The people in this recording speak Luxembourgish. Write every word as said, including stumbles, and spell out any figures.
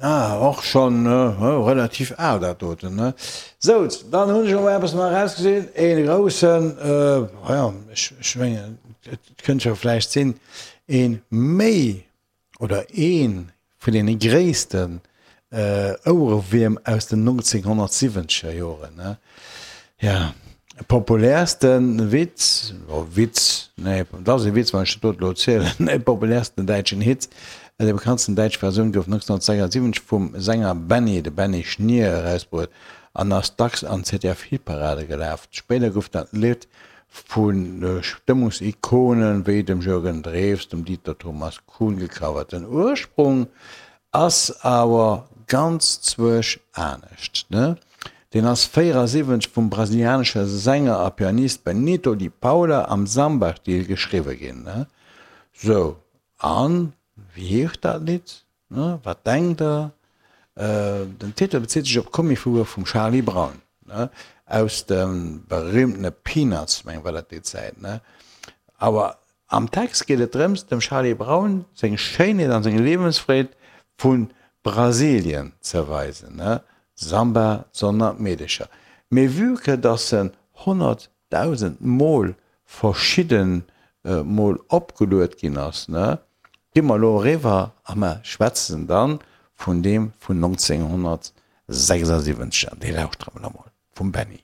Ah, och schonn relativ al dat doten, ne? Sou, dann hunn ech elo eppes nach erausgesinn, ee groussen, jo, ech mengen, et kënnt jo vläicht sinn, ee méi oder ee vun deene gréissten Ouerewierm aus den nonzénghonnertsiwwenzeger Joren, ne? Ja, populäerste Witz, oh Witz, nee, et ass e Witz, wann ech dat do elo erzielen, nee, populäersten däitschen Hit, déi bekanntsten däitsch Versioun gouf nonzénghonnertsechsundsiwwenzeg vum Sänger Benny, de Benny Schnier, erausbruet an ass dacks an Z D F-Hitparade gelaf. Spéider gouf dat Lidd vu Stëmmungsikonen wéi dem Jürgen Drews, dem Dieter Thomas Kuhn gecovert. Den Ursprung ass awer ganz zwuesch anescht, ne? Deen ass véierasiwwenzeg vum brasilianesche Sänger a Pianist Benito de Paula am Samba-Stil geschriwwe ginn, ne? Sou, an wéi heescht dat Lidd, ne? Wat denkt der? Den Titel bezitt sech op d'Comicfigur vum Charlie Brown, ne? Aus de berühmtene Peanuts, mengen war dat déi Zäit, ne? Awer am Text geet et drëms, dem Charlie Brown seng Schéinheet an seng Liewensfreed vu Brasilien ze weisen, ne? Samba, d'Sonn an d'Meedecher. Mee vue que dass en honnertdausend Mol verschidden Mol opgeluet ginn ass, ne, gi mer elo eriwwer a mer schwätzen dann vun deem vun nonzénghonnertsechsundsiwwenzeg an dee lauschtere mer elo mol vum Benny.